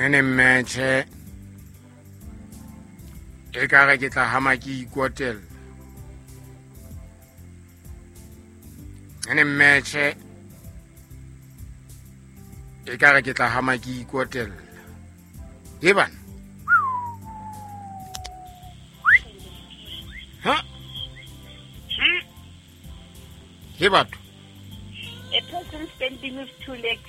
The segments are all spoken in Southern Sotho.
Nene mmetšhe e ka re ke tla hama ke ikotella. Nene mmetšhe e ka re ke tla hama ke ikotella. E bana. Ha? He batho. A person standing with two legs.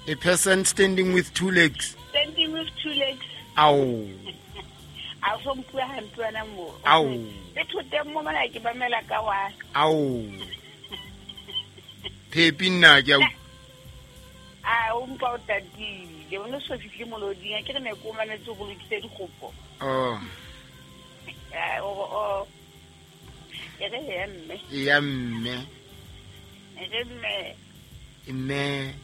A person standing with two legs. Standing with two legs. Ao. A so mpua hampe wena mo. Ao. Le thoteng mo mona ke mamela ka wa. Ao. Phepi nna ke a A o mpa o tatile. O ne so fihle moloding. Ke re ne ko manetse go lokise dikgopo. Oh. O o. E re ya mme. Ya mme. E re mme. Mme.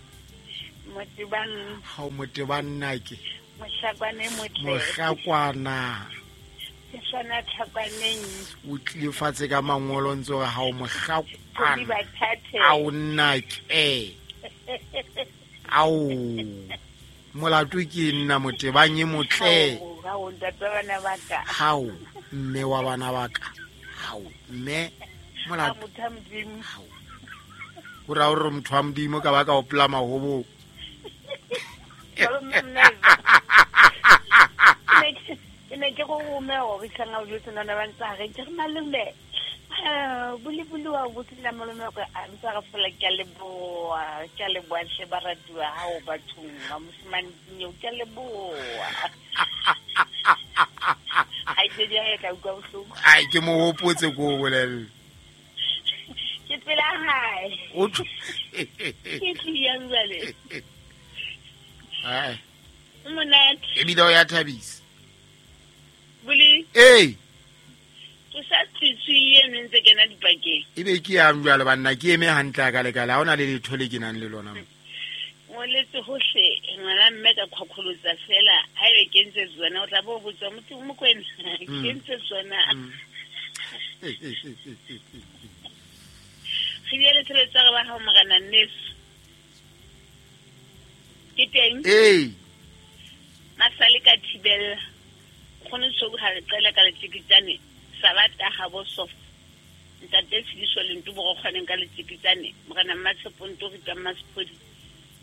Motebang. Ha o motebang nna ke. Mohlakwane motle. Mohlakwana. Ke swana tlhakwaneng. O tlile fatshe ka mangolo ntse hore ha o mohlakwana. Ao nna ke. Ao. Molato ke nna motebang e motle. Hao ntate wa bana ba ka. Hao mme wa bana ba ka. Hao mme molato. Motho wa Modimo. Hao. Ho ra hore motho wa Modimo ka ba ka opela mahobo. Ke ne ke go rome gore tlhanga o jwetse nana ba ntse re ke re malome. Buli wa botsela malome go a ntse re fola ke a leboa, ke a leboa hle baratuwa ha o bathong ba mosimane nyo ke a leboa. Ai ke di ya ka utlwa bohloko. Ai ke mo hopotse ko bolelle. Ke pela hae. O tho. Ke tliyang jwale. Ai. Monate. Ebile o ya thabisa. Buli. Ee. Ke sa tswitswi eno ntse kena dipakeng. Ebe ke yang jwale banna ke eme hantle ka lekala ha ona le letho le ke nang le lona mo. Ngoletse hohle ngwana mme ka khokholotsa fela ha ebe ke ntse tsona o tla bo botsa motho Mokwena ke ntse tsona. Re bile le tshebetso re ba ha morena nneso. Ke teng? Ee. Masale ka thibella. Kgone so ha re qela ka letsikitsane sabata ha bo soft. Ntate Tshidiso le nto bo kgoneng ka letsikitsane morena Mmatshepo nto re ka Mmasepodi.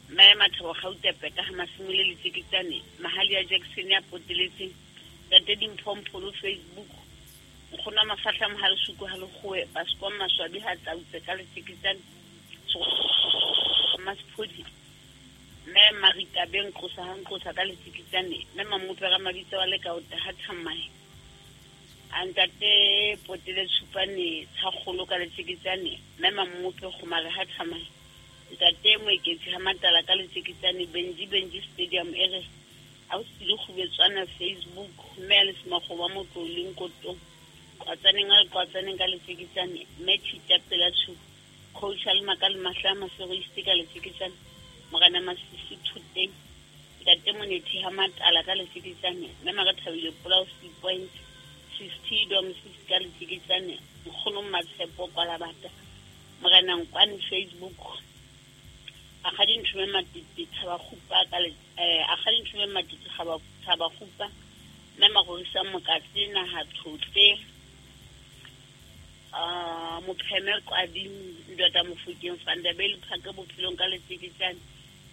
Mme Mathabo Gautepe ka ha Masimole letsikitsane Mahali ya Jackson ya poteletseng ntate Dimphompholo Facebook nkgono mafahla mohale suku ha lekgowe Pasco Maswabi ha tlautse ka letsikitsane Mmasepodi. Mme Marita Beng qosa ha nqosa ka letsikitsane mme Mamopera Mabitso wa le ka o ha thamae. Antate potele tshupane tshakgolo ka letsikitsane mme Mamope gomare ha thamae. Ntate Moeketsi ha Matala ka letsikitsane Benji Stadium e re a o sile kgubetswana Facebook mme a le semagoba motloleng kotong qwatsaneng a qwatsaneng ka letsikitsane mme Thita pela tshu coach a le makale mahla maseroiste ka letsikitsane morena Masisi Thuteng ntate Monethi ha Matala ka letsikitsane mme Marathabile Polao C point 60 dom 6 ka letsikitsane nkgono Matshepo Kwalabata morena Nkwane Facebook a ga dinthume matete thaba khupa ka le a ga dinthume matete thaba khupa mme Magorisa Mokatse naha thotle mopheme Kwadi ndota Mofokeng Fandabele phaka bophelong ka letsikitsane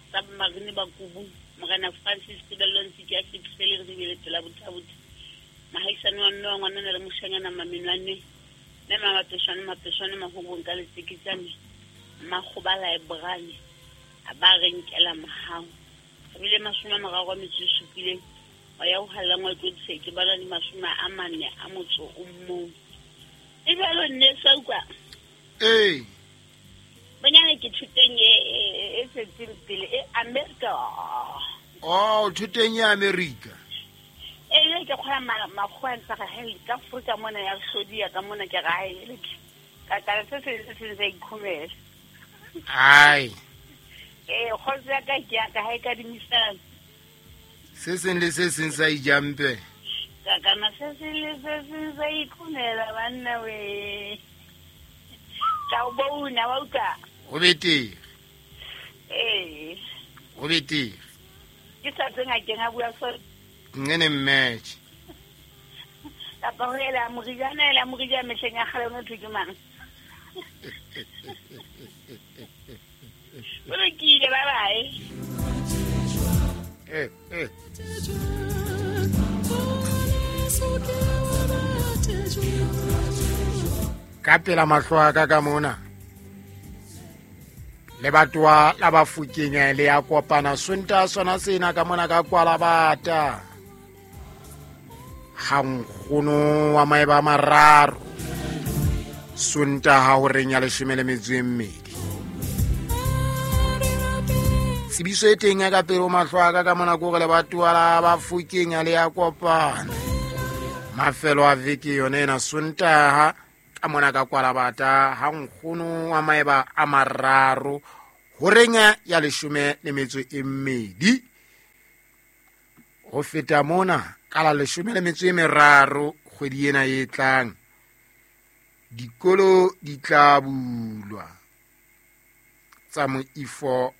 submarine ba kubu morena Francis Tebello Ntsiki ya Sepsele re bile pela bothabotha mahaisane wa mme wa ngwanana le moshanyana mamenwane mme mapeshwane mapeshwane mahobong ka letsikitsane makgoba library a ba re nkela mahao re bile 37 wa ya ho hallang wa tlo ke bala di 41. E jalo nne sa utlwa. Ee. Bonyane ke thuteng e tswetseng pele e America. Oh, thuteng ya America. Ee, ke kgona makgowa ntse ga he ka Afrika mona ya hlodiya ka mona ke gae. Ka ka se se se se ikhomela. Ai. Ee, kgotsa ya ka ke ya ka ha e ka dimisana. Se seng le se seng sa ijampe. Ka kana se seng le se seng sa ikhomela banna we. Ka o bona wa utlwa. Ho betere. Ee. Ho betere. Ke sa tswe ngakeng a bua so. Nene match. Kapa ho ela morijana ela morijana mehleng ya kgale o thwe ke mang? O lokile, bye bye. Ka pela mahlo a ka ka mona lebatowa la Bafokeng le ya kopana Sontaha sona sena ka mona ka Kwalabata. Ga nkgono wa maeba a mararo Sontaha horeng ya 12. Tsebiso e teng ya ka pele ho mahlo a ka ka mona ko re lebatowa la Bafokeng le ya kopana mafelo a veke yone ena Sontaha ka mona ka Kwalabata ha nkgono wa maeba a mararo horeng ya 12. Ho feta mona ka la 13 kgwedi ena e tlang dikolo di tla bulwa tsa moifo.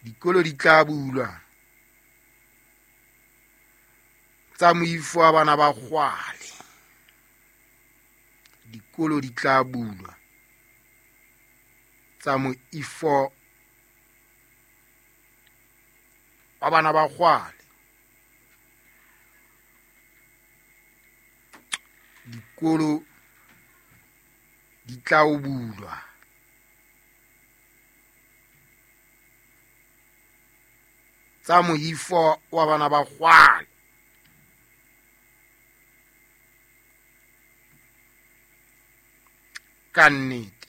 Dikolo di tla bulwa tsa moifo wa bana ba kgwale. Dikolo di tla bulwa tsa moifo wa bana ba kgwale. Dikolo di tla bulwa tsa moifo wa bana ba kgwale. Ka nnete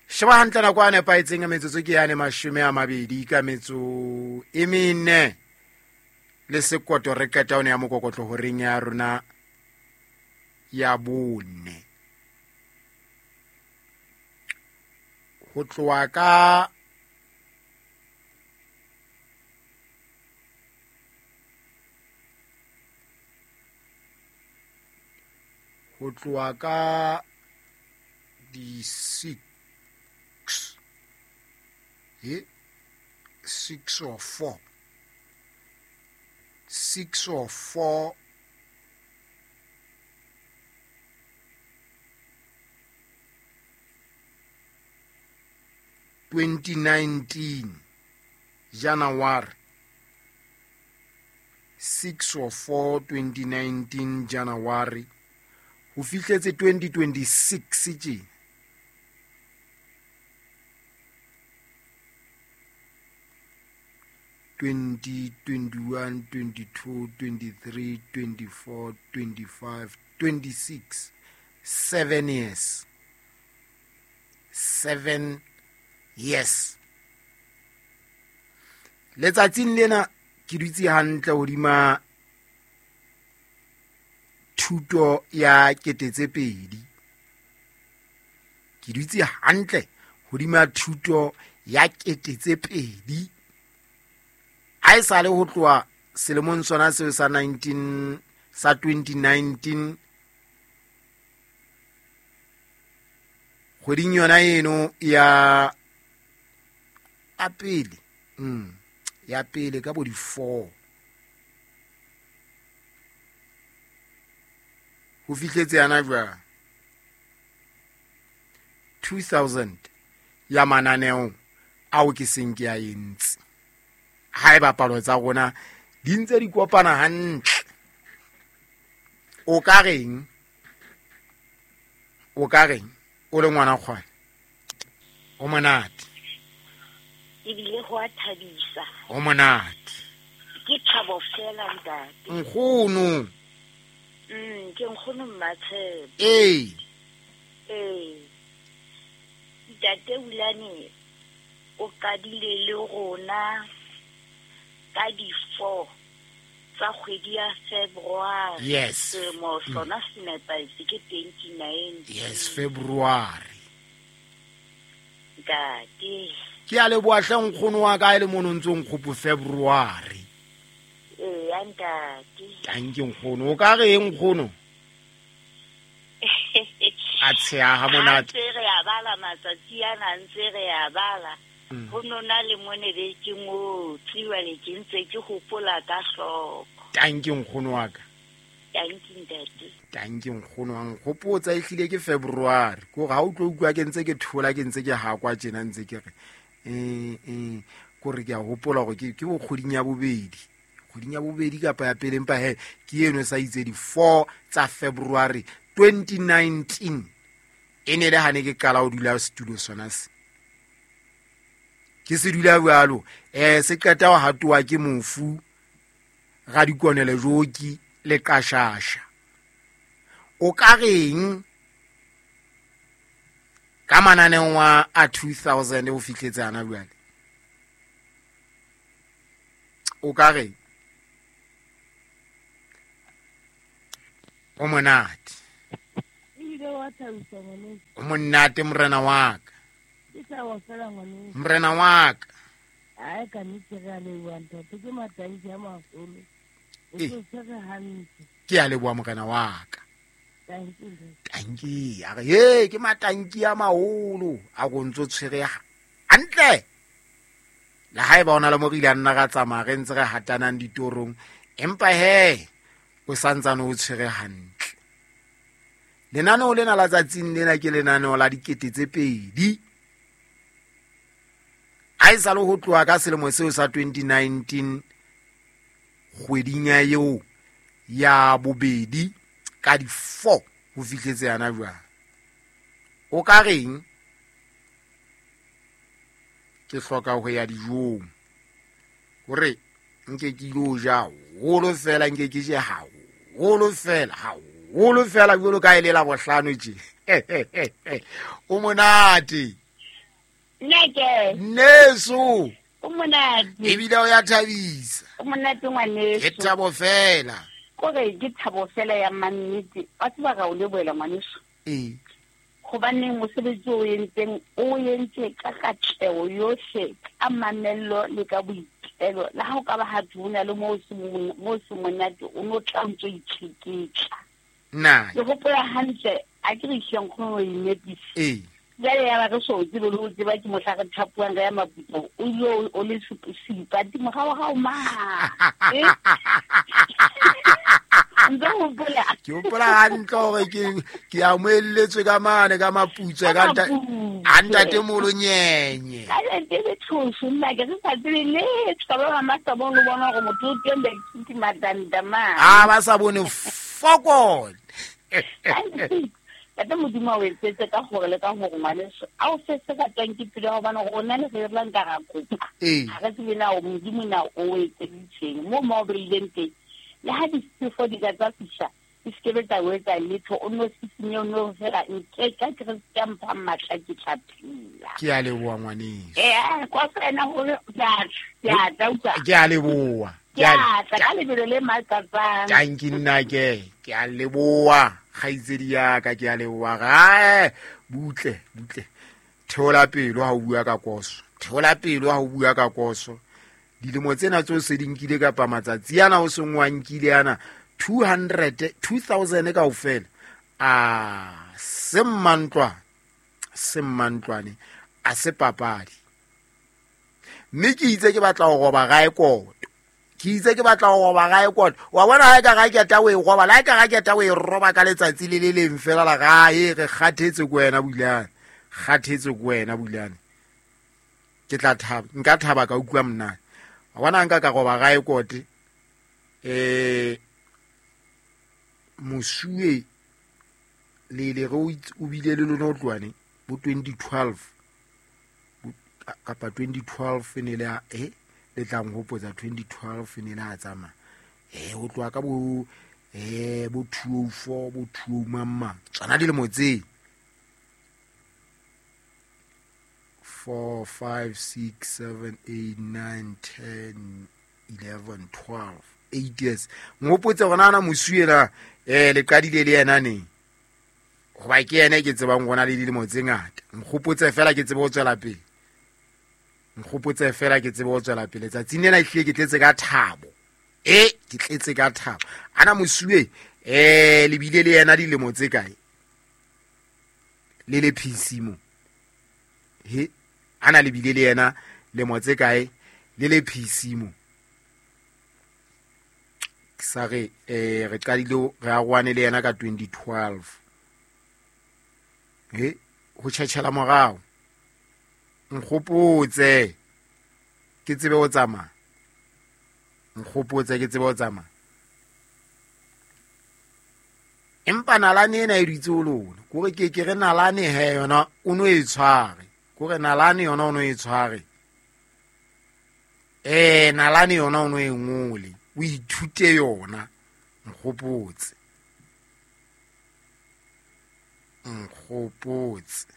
sheba hantle nako a nepahetseng ya metsotso ke yane 24 le sekoto re qeta one ya mokokotlo horeng ya rona ya bone. Ho tloha ka di 6 6 or 4 6 or 4 2019 January 6 or 4 2019 January ho fihletse 2026 tje. 20, 21, 22, 23, 24, 25, 26. 7 years. 7 years. Letsatsing lena ke dutse hantle hodima thuto ya 2000. Ke dutse hantle hodima thuto ya 2000. Ha e sale ho tloha selemong sona seo sa 2019 kgweding yona eno ya pele ya pele ka bo di 4 ho fihletse yana jwang 2000 ya mananeo ao ke seng ke a entse. Ha e bapalo tsa rona di ntse di kopana hantle. O ka reng o le ngwana kgwane o monate ebile ho a thabisa o monate ke thabo fela ntate nkgono. Ke nkgono Mmatshepo. Ee ntate Ulane o qadile le rona ka di 4 tsa kgwedi ya February. Yes. Selemo sona se nepahetse ke 29. Yes, February. Ntate. Ke a leboha hle nkgono wa ka e le mono ntse nkgopo February. Ee, ntate. Tanki nkgono, o ka re eng nkgono? A tsheha ha monate. Ntse re a bala matsatsi ana, ntse re a bala. Ho nona le mone be ke ngotse, jwale ke ntse ke hopola ka hloko. Tanki nkgono wa ka. Tanki ntate. Tanki nkgono wa nkgopotsa ehlile ke February. Ke hore ha o tlo utlwa ke ntse ke thola, ke ntse ke hakwa tjena, ntse ke re kore ke a hopola hore ke bo kgweding ya bobedi. Kgweding ya bobedi kapa ya pele, empa he ke eno sa itse di 4 tsa February 2019. E ne le hane ke qala ho dula setulo sona se. Ke se dula jwalo, se qeta ho hatoa ke mofu Radikonele Joki le Qashasha. O ka reng ka mananeo a 2000 ho fihletse hana jwale? O ka reng? O monate. O monate morena wa ka. Morena wa ka. Ai ka nnete re a leboha ntate, ke matanki a maholo. O tshwere hantle. Ke a leboha morena wa ka. Tanki, a re he ke matanki a maholo a go ntso tshwere hantle. Le haeba ona le mo re ile a nna ra tsamaya re ntse re hatanang ditorong, empa he o santsane o tshwere hantle. Lenaneo lena la tsatsing lena ke lenaneo la 2000. A e sa le ho tloha ka selemo seo sa 2019 kgweding ya eo ya bobedi ka di 4 ho fihletse yana jwang. O ka reng? Ke hloka ho ya dijong. Hore nke ke ilo ja haholo fela, nke ke je haholo fela, haholo fela jwalo ka e le la bohlano tje. O monate. Nnake. Nneso. O monate. Ebile o ya thabisa. O monate ngwaneso. Ke thabo fela. Kore ke thabo fela ya mannete. Wa tseba ra o lebohela ngwaneso. Ee. Hobaneng mosebetsi o entseng, o entse ka katleho yohle, ka mamello le ka boitelo. Le ha o ka ba ha tuna le mo se monate, o no tla ntso itsheketla. Nna. Ke hopola hantle, a ke re hleng kgone ho inepisa. Ee. Jwale ya ba re so tsebe le ho tseba ke mohla re thapuang re ya Maputsong, o ile o le seipati morao hao ma. Ntse o hopola? Ke hopola hantle hore ke amoelletswe ka mane ka Maputswe ka a ntate Molonyenye. Ka ntate le tshoso nna ke re sa tsebe letho, ka ba ba sa bone bona hore motho o teng ba ithuti matanta ma. A ba sa bone fokol. Ntate Modimo o etsetse ka hore le ka hore ngwaneso a o se se ka tswang ke pelo hobane rona le re rlang ka ra kopa. Ha re tsebe na o Modimo na o etseditseng mo mo beileng teng. Le ha disefo di ka tsa fihla, di se ke tsa o etsa letho, o no sisinye, o no fela nke ka Kreste a mpha matla ke tla phela. Ke a leboha ngwaneso. Kwa fela hore ke a tla utlwa. Ke a leboha. Ke a tla ka lebelo le makatsang. Tanki nna ke a leboha. Kgaitsedi ya ka, ke a leboha. Gae butle butle. Theola pelo ha o bua ka koso. Theola pelo ha o bua ka koso. Dilemo tsena tseo se di nkile kapa matsatsi ana o seng wa nkile ana 200 2000 kaofela. A se mmantlwane a se papadi. Mme ke itse ke batla ho roba gae koto. Ke itse ke batla ho roba gae koto. Wa bona ha e ka ga ke ta o e roba, la e ka ga ke ta o e roba ka letsatsi le le leng fela la gae re kgathetse ko wena Bulane. Kgathetse ko wena Bulane. Ke tla thaba, nka thaba ka utlwa monate. Wa bona nka ka roba gae kote. Mosuwe le le re o bile le lona o tloane bo 2012 kapa 2012 ne le a le tla nghopotsa 2012 ne le a tsamaya. O tloha ka bo bo 204 bo 20 mamma tsona dilemo tse 4 5 6 7 8 9 10 11 12 8 years. Nghopotse hore na mosuwe na le qadile le yena neng, hoba ke yena ke tsebang gona le dilemo tse ngata. Nkgopotse fela ke tsebe ho tswela pele. Nkgopotse fela ke tsebe ho tswela pele. Tsatsing lena ehlile ke tletse ka thabo. Ke tletse ka thabo. Ana mosuwe le bile le yena dilemo tse kae? Le le PC mo. He ana le bile le yena lemo tse kae le le PC mo. Ke sa re re qadile re aroane le yena ka 2012. He ho tjhetjhela morao. Nkgopotse ke tsebe ho tsamaya. Nkgopotse ke tsebe ho tsamaya. Empa nalane ena e dutse ho lona. Kore ke re nalane he yona o no e tshware. Kore nalane yona o no e tshware. Nalane yona o no e ngole. O ithute yona. Nkgopotse. Nkgopotse.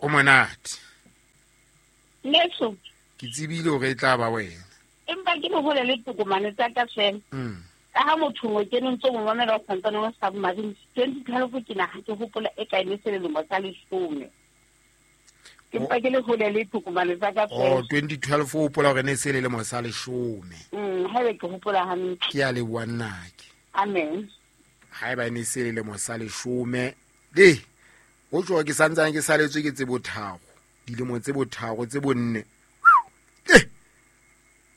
O monate. Neso. Ke tsebile hore e tla ba wena. Empa ke mo hole le tokomane tsa ka fela. Ka ha motho mo ke ntse mo mamela o santsane wa submarine 2012 ke na ha ke hopola e kae ne se le lemo sa leshome. Ke mpa ke le hole le tokomane tsa ka fela. Oh 2012 o hopola hore ne se le lemo sa leshome. Haebe ke hopola hantle. Ke a leboha nnake. Amen. Haeba ne se le lemo sa leshome le ho tjho ke santsane ke saletswe ke tse botharo dilemo tse botharo tse bonne.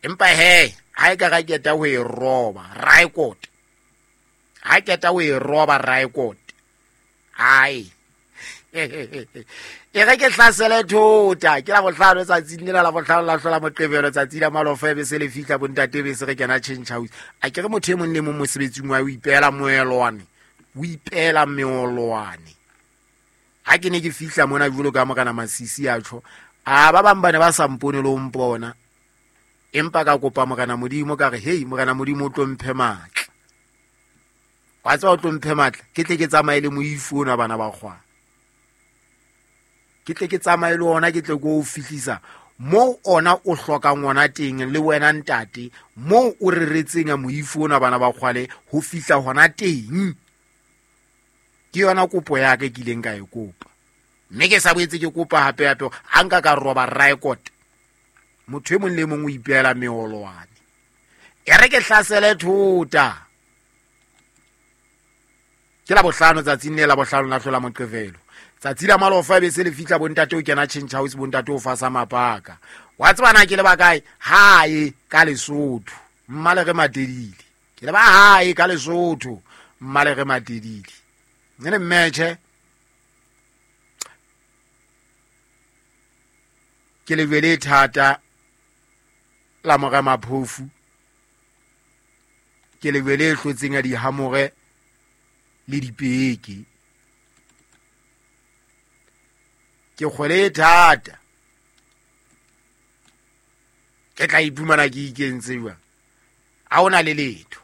Empa he ha e ka ra keta ho e roba record. Ha keta ho e roba record. Ai. E re ke hlasele thota ke la bohlano tsatsing lena la bohlano la hlola moqebelo tsatsi la malofa be se le fihla bontate be se re kena change house. A ke re motho e mong le mong mosebetsing wa o ipeela moelwane. O ipeela meolwane. Ha ke ne ke fihla mona jwalo ka morena Masisi a tjho, a ba bang ba ne ba sa mpone le ho mpona. Empa ka kopa morena Modimo ka re hey morena Modimo o tlo mphe matla. Wa tseba o tlo mphe matla ke tle ke tsamaye le moifu ona bana ba kgwa. Ke tle ke tsamaye le ona ke tle go o fihlisa mo ona o hlokang ona teng le wena ntate mo o reretseng moifu ona bana ba kgwale ho fihla hona teng. Ke yona kopo ya ka ke ileng ka e kopa. Mme ke sa boetse ke kopa hape hape ha nka ka roba record. Motho e mong le mong o ipeela meolwane. E re ke hlasele thota. Ke la bohlano tsatsing le la bohlano la hlola moqebelo. Tsatsi la malofa be se le fihla bontate o kena change house bontate o fasa mapaka. Wa tseba na ke le ba kae? Hae ka Lesotho. Mmale re Matedile. Ke le ba hae ka Lesotho. Mmale re Matedile. Nene mmetjhe. Ke lejwe le thata la mora maphofu. Ke lejwe le hlotseng ya dihamore le dipeke. Ke kgwele e thata. Ke tla iphumana ke ikentse jwang. Ha hona le letho.